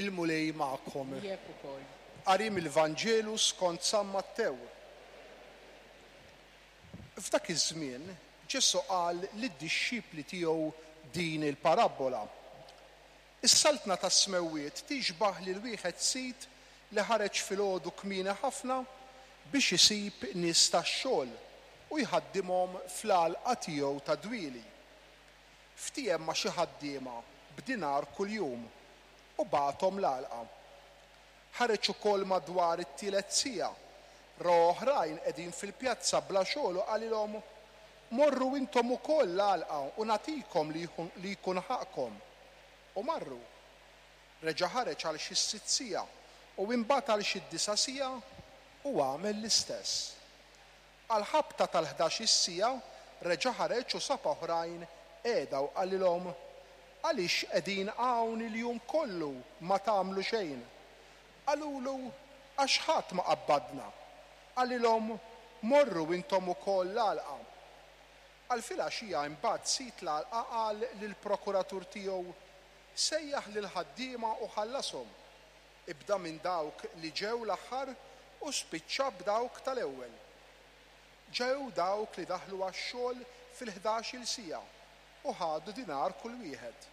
Il-Mulej magħkom. Miegħek ukoll. Qari mill-Vanġelu skont San Mattew. F'dak iż-żmien Ġesù qal lid-dixxipli tiegħu din il-parabbola, Is-Saltna tas-Smewwiet tixbah lil wieħed sid li ħareġ filgħodu kmieni ħafna biex isib nies tax-xogħol u jħaddimhom fl-għalqa tiegħu tad-dwieli. Ftiehem ma' xi ħaddiema b'dinar kuljum u bagħathom l-għalqa. Ħareġ ukoll madwar it-tielet siegħa, ra oħrajn qegħdin fil-pjazza bla xogħol u qalilhom, 'Morru intom ukoll l-għalqa u nagħtikom li jkun ħaqqkom. U marru. Reġa' ħareġ għal xi s-sitt siegħa u imbagħad għal xi d-disa' siegħa u għamel l-istess. Għall-ħabta tal-ħdax-il siegħa reġa' ħareġ u sab oħrajn qiegħda u qalilhom, Għaliex qegħdin hawn il-jum kollu ma tagħmlu xejn? Qalulu, Għax ħadd ma qabbadna. Qalilhom, Morru intom ukoll l-għalqa. Għal filgħaxija imbagħad sid l-għalqa qal lill-prokuratur tiegħu, Sejjaħ lill-ħaddiema u ħallashom, Ibda minn dawk li ġew l-aħħar u spiċċa b'dawk tal-ewwel. Ġew dawk li daħlu għax-xogħol fil-ħdax-il siegħa u ħadu dinar kull wieħed.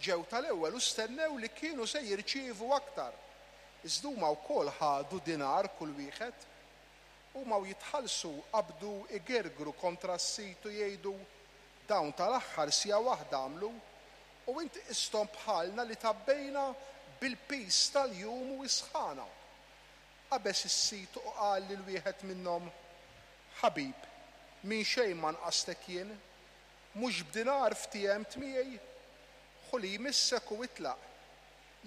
Ġew tal-ewwel u stennew li kienu se jirċievu aktar, iżda huma wkoll ħadu dinar kull wieħed. Huma u jitħallsu qabdu jgergru kontra s-sid u jgħidu, Dawn tal-aħħar siegħa waħda għamlu, u int qisthom bħalna li tgħabbejna bil-piż tal-jum u s-sħana. Qabeż is-sid u qal lil wieħed minnhom, Ħabib, minn xejn ma nqastek jien. Mhux b'dinar ftiehemt miegħi? Ħu li jmissek u itlaq.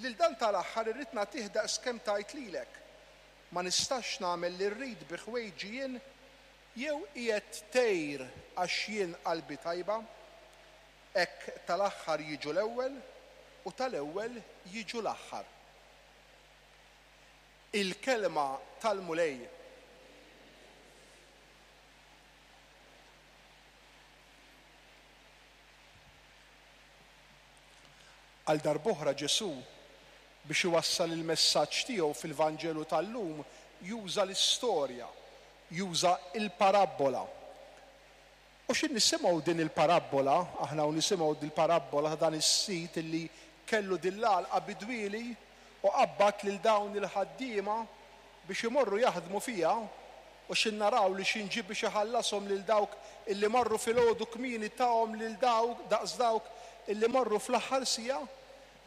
Lil dan tal-aħħar irrid nagħtih daqs kemm tajt lilek. Ma nistax nagħmel li rrid bi ħwejġi jien? Jew qiegħed tgħir għax jien qalbi tajba? Hekk tal-aħħar jiġu l-ewwel u tal-ewwel jiġu l-aħħar. Il-Kelma tal-Mulej. Għal darb'oħra Ġesù, biex iwassal il-messaġġ tiegħu fil-Vanġelu tal-lum, juża l-istorja, juża l-parabbola. U xi nisimgħu din il-parabbola, aħna u nisimgħu dil-parabbola ta' dan is-sid illi kellu din l-għalqa bid-dwieli u qabbad lil dawn il-ħaddiema biex imorru jaħdmu fiha, u xi naraw li xi nġie biex iħallashom lil dawk illi marru filgħodu kmieni tahom lil dawk daqs dawk illi marru fl-aħħar siegħa,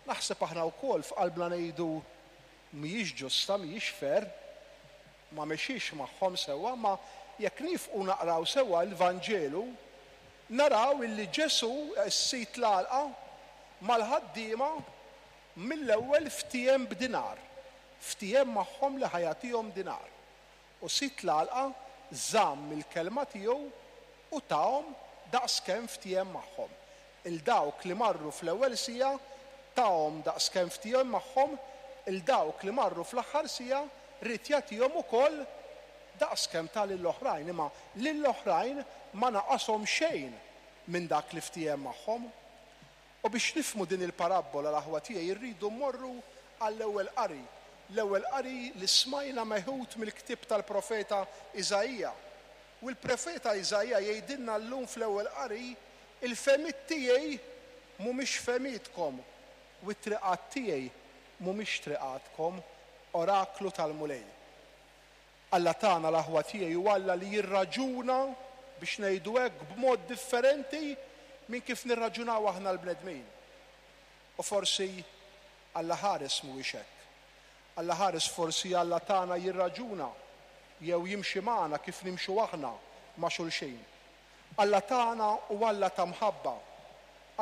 naħseb aħna wkoll f'qalbna ngħidu mhijiex ġusta, mhijiex fair. Ma mexiex magħhom sewwa, imma jekk niefqu naqraw sewwa l-Vanġelu, naraw illi Ġesù, is-Sid l-għalqa, mal-ħaddiema mill-ewwel ftiehem b'dinar. Ftiehem magħhom li ħa jagħtihom dinar. U sid l-għalqa żamm il-kelma tiegħu u tahom daqs kemm ftiehem magħhom. 'Il dawk li marru fl-ewwel siegħa tahom daqs kemm ftiehem magħhom, 'il dawk li marru fl-aħħar siegħa ried jagħtihom ukoll daqs kemm ta lill-oħrajn, imma lill-oħrajn ma naqashom xejn minn dak li ftiehem magħhom. U biex nifhmu din il-parabbola, l-aħwa tiegħi, irridu mmorru għall-ewwel qari, l-ewwel qari li smajna meħud mill-ktieb tal-profeta Iżaija. U l-profeta Iżaija jgħidilna llum fl-ewwel qari, Il-fehmiet tiegħi mhumiex fehmietkom u t-triqat tiegħi mhumiex triqatkom, oraklu tal-Mulej. Alla tagħna, l-aħwa tiegħi, hu Alla li jirraġuna, biex ngħidu hekk, b'mod differenti minn kif nirraġunaw aħna l-bnedmin. U forsi Alla ħares mhuwiex hekk. Alla ħares forsi Alla tagħna jirraġuna jew jimxi magħna kif nimxu aħna ma' xulxin. Alla tagħna hu Alla ta' mħabba.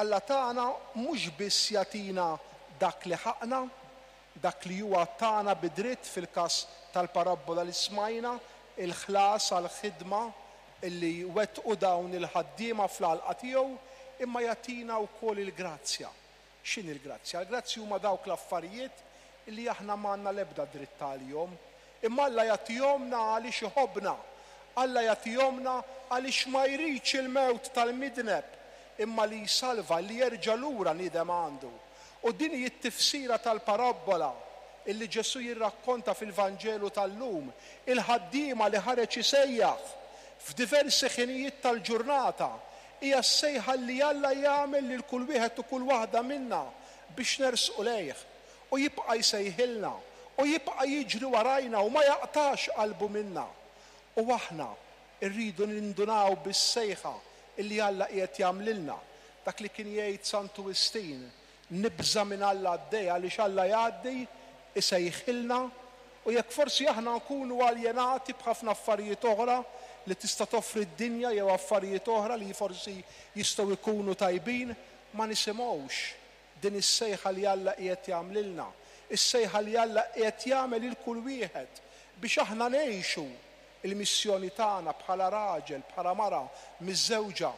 Alla tagħna mhux biss jagħtina dak li ħaqqna, dak li huwa tagħna bi dritt fil-każ tal-parabbola li smajna, il-ħlas għall-ħidma li wettqu dawn il-ħaddiema fl-għalqa tiegħu, imma jagħtina wkoll il-grazzja. X'inhi l-grazzja? Il-grazzji huma dawk l-affarijiet li aħna m'għandna l-ebda dritt għalihom. Imma Alla jagħtihomlna għaliex iħobbna. Alla jagħtihomlna għaliex ma jridx il-mewt tal-midneb, imma li jsalva, li jerġa' lura niedem għandu. U din hi t-tifsira tal-parabbola illi Ġesù jirrakkonta fil-Vanġelu tal-lum, il-ħaddiema li ħareġ isejjaħ f'diversi ħinijiet tal-ġurnata, hija s-sejħa li Alla jagħmel lil kull wieħed u kull waħda minna biex nersqu lejh. U jibqa' jsejħilna, u jibqa' jiġri warajna u ma jaqtax qalbu minna. U aħna rridu nindunaw bis-sejħa illi Alla qiegħed jagħmlilna. Dak li kien jgħid Santu Wistin, Nibża' minn Alla għaddej għaliex Alla jgħaddi, isejħilna, u jekk forsi aħna nkunu aljenati b'ħafna affarijiet oħra li tista' toffri d-dinja jew affarijiet oħra li forsi jistgħu jkunu tajbin, ma nisimgħux din is-sejħa li Alla qiegħed jagħmlilna, is-sejħa li Alla qiegħed jagħmel lil kull wieħed biex aħna ngħixu l-missjoni tagħna bħala raġel, bħala mara miżżewġa,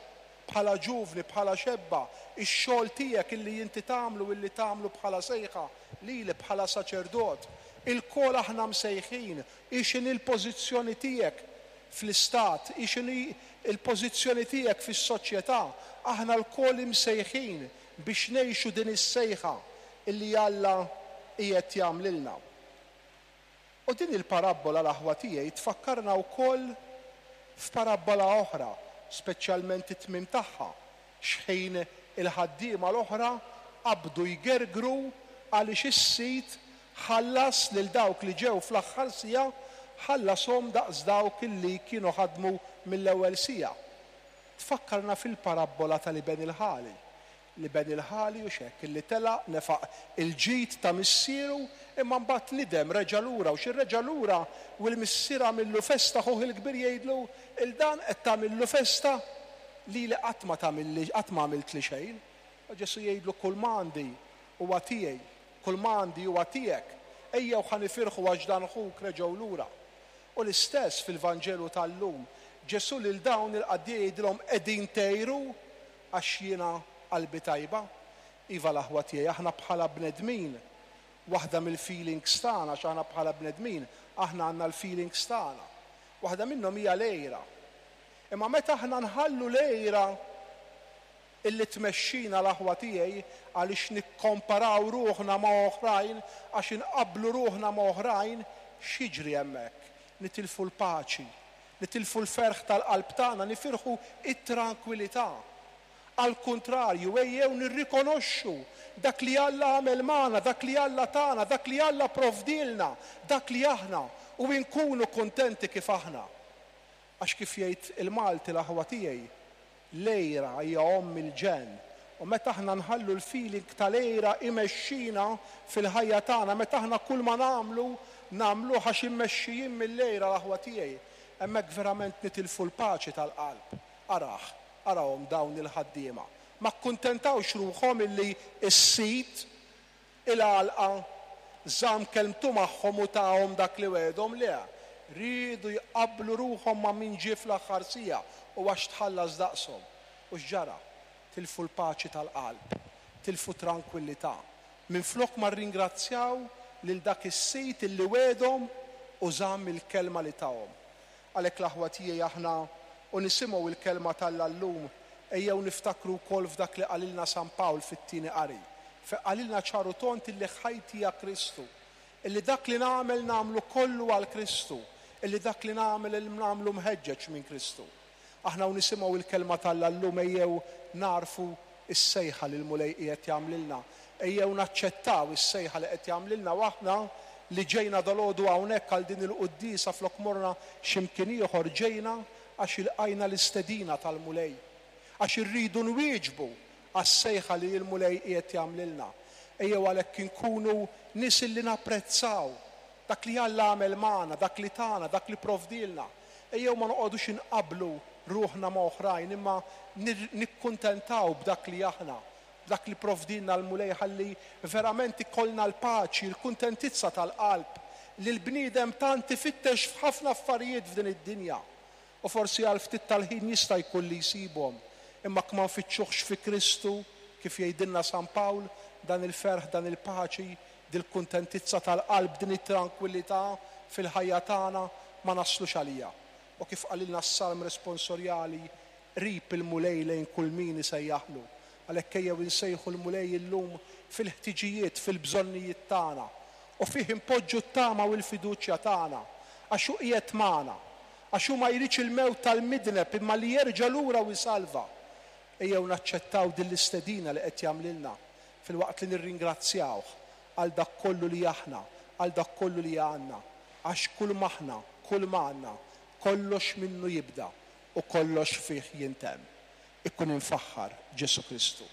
bħala ġuvni, bħala xebba, ix-xogħol tiegħek illi inti tagħmlu illi tagħmlu bħala sejħa lili bħala saċerdot. Ilkoll aħna msejħin, hi x'inhi l-pożizzjoni tiegħek fl-istat, hi x'inhi l-pożizzjoni tiegħek fis-soċjetà, aħna lkoll imsejħin biex ngħixu din is-sejħa illi Alla qiegħed jagħmlilna. U din il-parabbola, l-aħwa tiegħi, tfakkarna wkoll f'parabbola oħra, speċjalment it-tmiem tagħha, x'ħin il-ħaddiema l-oħra qabdu jgergru għaliex is-sid ħallas lil dawk li ġew fl-aħħar siegħa, ħallashom daqs dawk li kienu ħadmu mill-ewwel siegħa. Tfakkarna fil-parabbola tal-iben il-ħali. L-iben il-ħali hux hekk, illi telaq, nefaq il-ġid ta' missieru, imma mbagħad nidem, reġa' lura, u xi reġa' lura u l-missier għamillu festa, ħuh il-kbir jgħidlu, 'Il dan qed tagħmillu festa? Lili qatt ma tagħmilli, qatt ma għamiltli xejn. U Ġesù jgħidlu, Kull ma għandi huwa tiegħi, kull ma għandi huwa tiegħek, ejjew ħa nifirħu għax dan ħuk reġgħu lura. U l-istess fil-Vanġelu tal-lum, Ġesù lil dawn il-qaddejja jgħidilhom, Qegħdin tgħiru? Għax jiena qalbi tajba? Iva l-aħwa tiegħi, aħna bħala bnedmin, waħda mill-feelings tagħna, għax aħna bħala bnedmin, aħna għandna l-feelings tagħna. Waħda minnhom hija l-għira. Imma meta aħna nħallu l-għira illi tmexxina l-aħwa tiegħi għaliex nikkomparaw ruħna ma' oħrajn, għax inqabblu ruħna ma' oħrajn, x'jiġri hemmhekk? Nitilfu l-paċi, Nitilfu l-ferħ tal-qalb tagħna, nifirħu t-trankwilità. Għall-kuntrarju, ejjew nirrikonoxxu dak li Alla għamel magħna, dak li Alla tana, dak li Alla pprovdielna, dak li aħna, u inkunu kuntenti kif aħna. Għax kif jgħid il-Malti l-aħwa tiegħi, L-għira hija omm il-ġenn. U meta aħna nħallu l-feeling tal-għira imexxina fil-ħajja tagħna, meta aħna kull ma nagħmlu, nagħmluh għax immexxijin mill-għira l-aħwa tiegħi, hemmhekk verament nitilfu l-paċi tal-qalb. Arah, arahom dawn il-ħaddiema. Ma kkuntentawx ruħhom illi s-sid Il-għalqa żamm kelmtu magħhom u tahom dak li wegħedhom? Le. Riedu jqabblu ruħhom ma' min ġie fl-aħħar siegħa u għax tħallas daqshom. U x'ġara? Tilfu l-paċi tal-qalb. Tilfu t-trankwillità. Minflok ma rringrazzjaw lil dak is-sid illi wegħedhom u żamm il-kelma li tahom. Għalhekk l-aħwa tiegħi aħna u nisimgħu l-Kelma t'Alla llum, ejjew niftakru wkoll f'dak li qalilna San Pawl fit-tieni qari, fejn qalilna ċar u tond illi ħajti hija Kristu, illi dak li nagħmel nagħmlu kollu għal Kristu, illi dak li nagħmel nagħmlu mħeġġeġ minn Kristu. Aħna u nisimgħu l-Kelma t'Alla llum ejjew nagħrfu s-sejħa li l-Mulej qiegħed jagħmlilna. Ejjew naċċettaw is-sejħa li qed jagħmlilna u aħna li ġejna dalgħodu hawnhekk għal din il-quddiesa flok morna xi mkien ieħor ġejna għax ilqajna l-istedina tal-Mulej. Għax irridu nwieġbu għas-sejħa li l-Mulej qiegħed jagħmlilna. Ejjew għalhekk inkunu nies illi napprezzaw dak li Alla għamel magħna, dak li tana, dak li pprovdielna. Ejjew ma noqogħdux inqabblu ruħna ma' oħrajn imma nikkuntentaw b'dak li aħna, b'dak li pprovdielna l-Mulej ħalli verament ikollna l-paċi, l-kuntentizza tal-qalb li l-bniedem tant ifittex f'ħafna affarijiet f'din id-dinja. U forsi għal ftit tal-ħin jista' jkun li jsibhom, imma jekk ma nfittxuhx fi Kristu, kif jgħidilna San Pawl, dan il-ferħ, dan il-paċi, dil-kuntentizza tal-qalb, din it-trankwillità fil-ħajja tagħna ma naslux għaliha. U kif qalilna s-Salm responsorjali, Qrib il-Mulej lejn kull min isejjaħlu. Għalhekk ejjew insejħu l-Mulej illum fil-ħtiġijiet, fil-bżonnijiet tagħna, u fih inpoġġu t-tama u l-fiduċja tagħna, għax hu qiegħed magħna, għax hu ma jridx il-mewt tal-midneb imma li jerġa' lura u jsalva. Ejjew naċċettaw din l-istedina li qed jagħmlilna filwaqt li nirringrazzjawh għal dak kollu li aħna, għal dak kollu li għandna, għax kull m'aħna, kull m'għandna, kollox minnu jibda u kollox fih jintemm. Ikun imfaħħar Ġesù Kristu.